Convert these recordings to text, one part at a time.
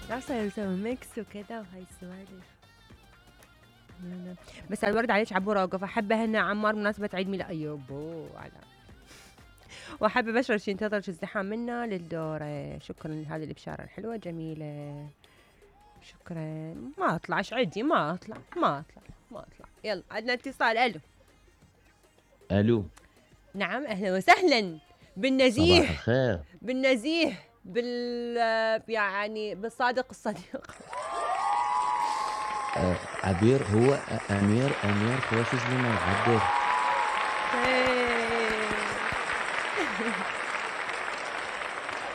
لا صار نسوي ميكس وكذا وهاي السوالف. بس الورد عليك عبورة وقف. أحبه هنا عمار مناسبة عيد ميلاد أيوبو على وأحب أبشر شي ينتظر الزحام منا للدورة. شكرا لهذه البشارة الحلوة جميلة. شكرا. ما أطلعش عدي ما أطلع. يلا عندنا اتصال. ألو. ألو. نعم أهلا وسهلا بالنزيه. صباح الخير. بالنزيه يعني بالصادق الصديق. عبير هو أمير خوش لنا معدل.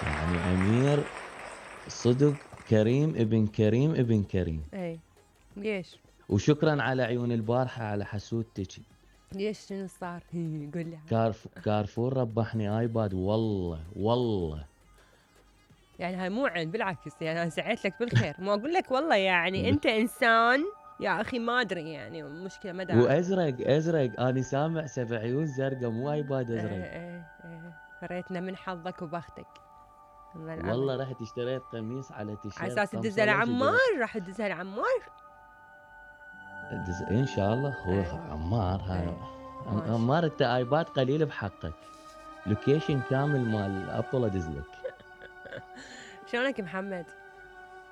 يعني أمير صدق كريم ابن كريم. اي ليش؟ وشكرا على عيون البارحة على حسودتك. ليش شنو صار؟ قول لي. كارفور ربحني ايباد والله. يعني هاي مو عين بالعكس، يعني انا سعيت لك بالخير. ما اقول لك والله يعني انت انسان يا اخي ما ادري يعني مشكله ما دام. وازرق انا سامع 7 عيون زرقاء مو ايباد ازرق. ايه فريتنا من حظك وبختك. والله رحت اشتريت قميص على تيشيرت على اساس تدزها لعمار. راح تدزها لعمار ان شاء الله. هو عمار هاي عمار انت ايباد قليل بحقك. لوكيشن كامل مال ابل ادزلك. شلونك محمد؟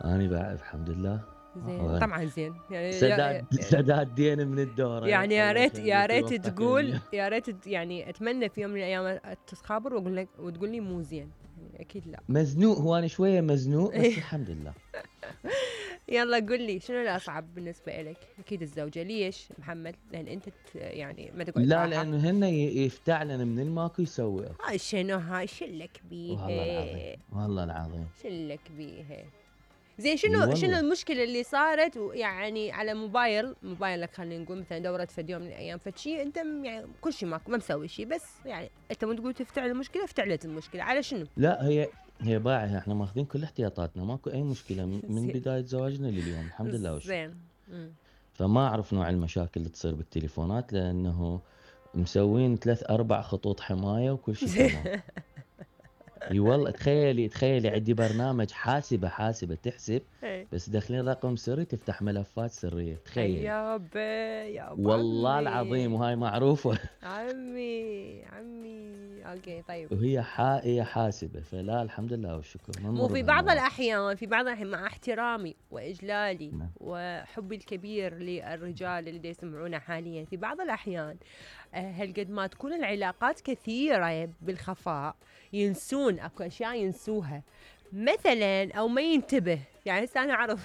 اني بعد الحمد لله زين. طبعا زين يعني سداد دين من الدورة. يعني يا ريت تقول يا ريت يعني اتمنى في يوم من الايام تتخابر واقول لك وتقول لي مو زين. يعني اكيد لا. مزنوق. هو انا شويه مزنوق بس الحمد لله. يلا قل لي شنو الاصعب بالنسبه لك؟ اكيد الزوجه. ليش محمد؟ لان انت يعني ما تقعد لا لانه هن يفتعلن من الماكو يسوي. هاي شنو هاي شلك بيها والله العظيم شلك بيها. زين شنو المشكله اللي صارت يعني على موبايلك خلينا نقول مثلا دورت في يوم من الايام فشي انت يعني كل شيء ما مسوي شيء بس يعني انت مو تقول تفتعل المشكله افتعلت المشكله على شنو؟ لا هي باعها. احنا ماخذين كل احتياطاتنا ماكو اي مشكله من بدايه زواجنا لليوم الحمد لله وشكرا. زين. فما اعرف نوع المشاكل اللي تصير بالتليفونات لانه مسوين 3-4 خطوط حمايه وكل شيء تمام. اي والله تخيلي عندي برنامج حاسبه تحسب بس داخلين رقم سري تفتح ملفات سريه. تخيل يا والله العظيم وهاي معروفه. عمي اوكي طيب. وهي هي حاسبه فلا الحمد لله والشكر. مو في بعض الاحيان مع احترامي واجلالي وحبي الكبير للرجال اللي يسمعونا حاليا في بعض الاحيان هالقد ما تكون العلاقات كثيره بالخفاء ينسون اكو اشياء ينسوها مثلا او ما ينتبه. يعني هسه انا اعرف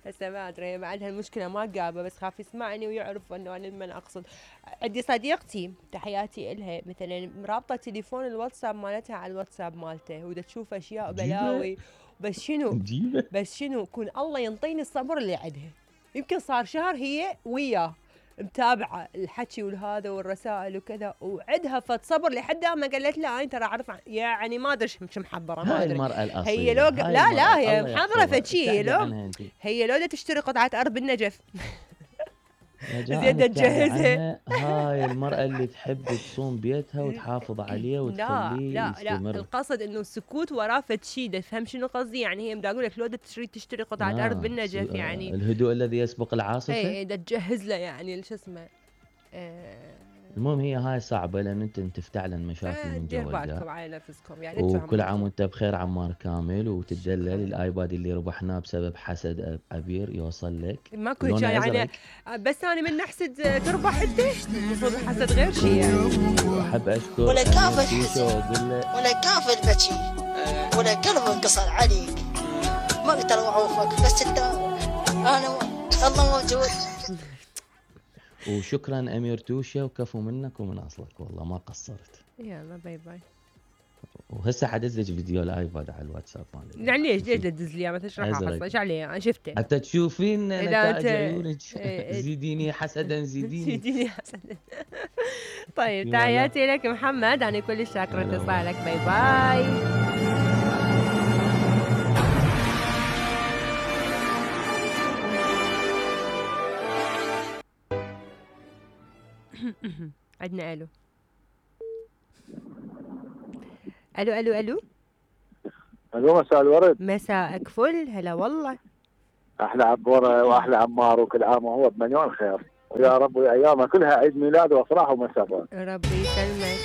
هسه ما ادري بعد هالمشكله ما قابه بس خاف يسمعني ويعرف انه انا من اقصد. عندي صديقتي تحياتي الها مثلا رابطه تليفون الواتساب مالتها على الواتساب مالته ودا تشوف اشياء بلاوي. بس شنو كون الله ينطيني الصبر اللي عندها. يمكن صار شهر هي وياه متابعه الحكي والهذا والرسائل وكذا وعدها فت صبر لحد ما قالت لا انا ترى اعرف يعني ما ادري شو محضره ما ادري. المرأة الأصيلة. هي لو لا هي محضره فشي هي لو تشتري قطعه ارض بالنجف زيادة تجهزها. هاي المرأة اللي تحب تصوم بيتها وتحافظ عليه وتخليه يستمر. القصد انه السكوت وراه فشي. دا تفهم شنو قصدي؟ يعني هي بدي اقول لك لو تشتري قطعه ارض بالنجف يعني الهدوء الذي يسبق العاصفه. اي دا تجهز له يعني شو اسمه. المهم هي هاي صعبه لان انت تفتعلن مشاكل من دير بالكم على نفسكم يعني. وكل عام وانت بخير عمار كامل وتدلل الايباد اللي ربحناه بسبب حسد عبير يوصل لك. ماكو يعني بس انا من نحسد تربح انت المفروض حسد غير شيء يعني. احب اشكر ولا كافر بكي ولا قلب انقصر عليك ما اقدر اعوفك بس انت انا الله موجود. وشكرا امير توشه وكفو منك ومن اصلك والله ما قصرت. يلا باي باي. وهسه حدز لك فيديو الايباد على الواتساب مالي. يعني ليش تدز لي ما تشرح اصلا ايش عليه انا شفته حتى تشوفين نتائج عيونك. زيديني حسدا زيديني حسدا. طيب تحياتي لك محمد انا كل شاكره اتصالك. باي باي. عندنا الو. الو مساء الورد. مساءك فل، هلا والله. احلى عبوره واحلى عمار، وكل عام وهو بمليون خير، ويا رب ايامها كلها عيد ميلاد وافراح ومسرات. ربي يسلمك.